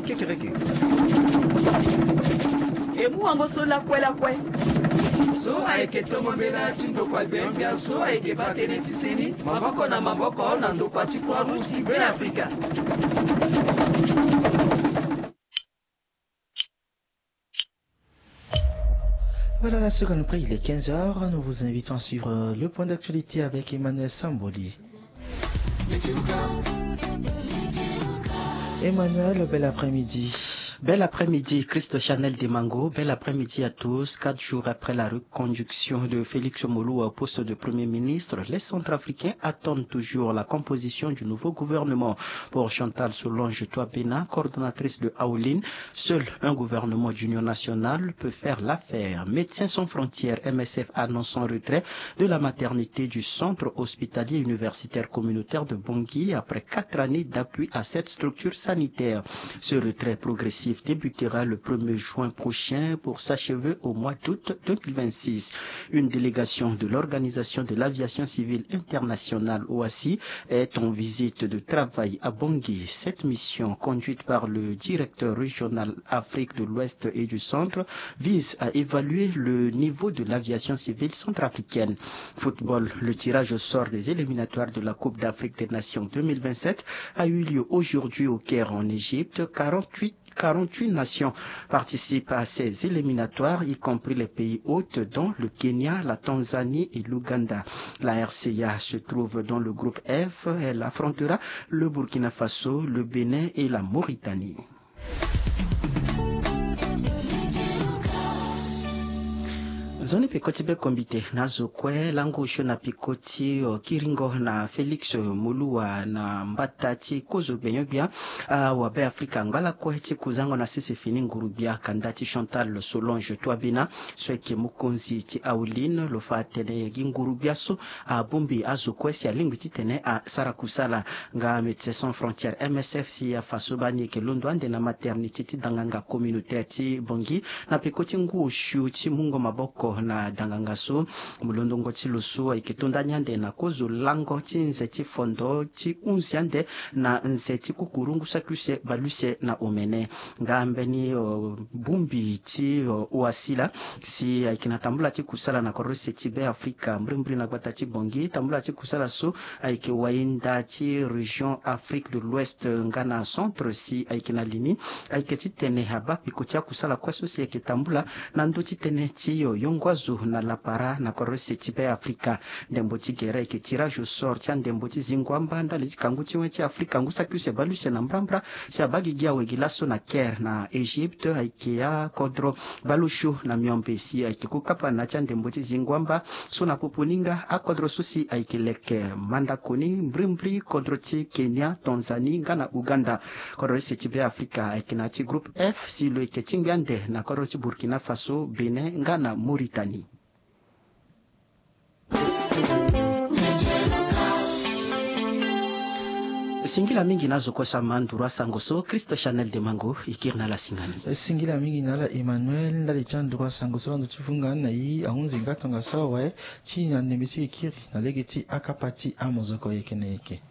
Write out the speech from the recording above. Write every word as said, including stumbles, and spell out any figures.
Kekereke. E mu wango so lakue lakue. So ayeke tongo mbela ti ndokua gbenyogbia so ayeke baa tënë ti seni maboko na maboko na ndokua ti Croix Rouge ti Beafrika. Voilà, la seconde près, il est quinze heures. Nous vous invitons à suivre le point d'actualité avec Emmanuel Samboli. Emmanuel, bel après-midi. Bel après-midi, Christo Chanel Demango. Bel après-midi à tous. Quatre jours après la reconduction de Félix Moloua au poste de Premier ministre, les Centrafricains attendent toujours la composition du nouveau gouvernement. Pour Chantal Solange Toabena, coordonnatrice de Aoline, seul un gouvernement d'union nationale peut faire l'affaire. Médecins sans frontières, M S F, annonce son retrait de la maternité du centre hospitalier universitaire communautaire de Bangui après quatre années d'appui à cette structure sanitaire. Ce retrait progressif débutera le premier juin prochain pour s'achever au mois d'août deux mille vingt-six. Une délégation de l'Organisation de l'aviation civile internationale, O A C I, est en visite de travail à Bangui. Cette mission, conduite par le directeur régional Afrique de l'Ouest et du Centre, vise à évaluer le niveau de l'aviation civile centrafricaine. Football, le tirage au sort des éliminatoires de la Coupe d'Afrique des Nations deux mille vingt-sept a eu lieu aujourd'hui au Caire en Égypte. Quarante-huit, quarante-huit nations participent à ces éliminatoires, y compris les pays hôtes, dont le Kenya, la Tanzanie et l'Ouganda. La R C A se trouve dans le groupe F. Elle affrontera le Burkina Faso, le Bénin et la Mauritanie. Nzoni peko ti be kombite na azo kue lango osio na peko ti kiringo na Félix Moloua na mbata ti kozo gbenyogbia. Awabe Afrika angba lakue ti kuzango na sese fini nguru-gbia kanda ti Chantal Solange Toabena so ayeke mokonzi ti Aoline lo fa atene gi nguru-gbia so abongbi azo kue si alingbi titene asara kusala. Nga Médecins sans frontières, M S F, si afa so baa ni ayeke londo ande na maternité ti danganga communautaire ti Bangui na peko ti ngu osio ti mungo maboko na danganga so. Molondongo ti lo so ayeke to nda ni ande na kozo lango ti nze ti fondo ti hunzi ande na nze ti kukuru ngu saki use bale use na omene. Nga mbeni bongbi ti O A C I laa si ayeke na tambula ti kusala na kodro use ti Be Afrika mbrimbri na gbata ti Bangui. Tambula ti kusala so ayeke wahinda ti région Afrique de l'Ouest nga na Centre si ayeke na li ni ayeke titene abaa peko ti akusala kue so si ayeke tambula na ndö ti tënë ti yongo azo na lapara na kodro use ti Be Afrika. Ndembo ti gere ayeke tirage au sort ti andembo ti zingo amba ndali ti kangu ti wen ti Afrika ngu saki use bale use na mbrambra si abaa gigi awe gi laso na Caire na Égypte ayeke akodro bale osio na miombe si ayeke ku kapa na ya ti andembo ti zingo amba so na popo ni nga akodro so si ayeke leke mandako ni mbrimbri kodro ti Kenya, Tanzanie nga na Ouganda. Kodro use ti Be Afrika ayeke na ya ti groupe F si lo yeke tingbi ande na kodro ti Burkina Faso, Bénin nga na Mauritanie. Singila mingi na azo kue so ama nduru asango so. Christo Chanel Demango e kiri na ala singani. Singila mingi na ala Emmanuel ndali ti anduru asango so ando ti vunga na ye ahunzi nga tongaso awe ti na ndembe ti e kiri na lege ti akapa ti amozoko yeke na yeke.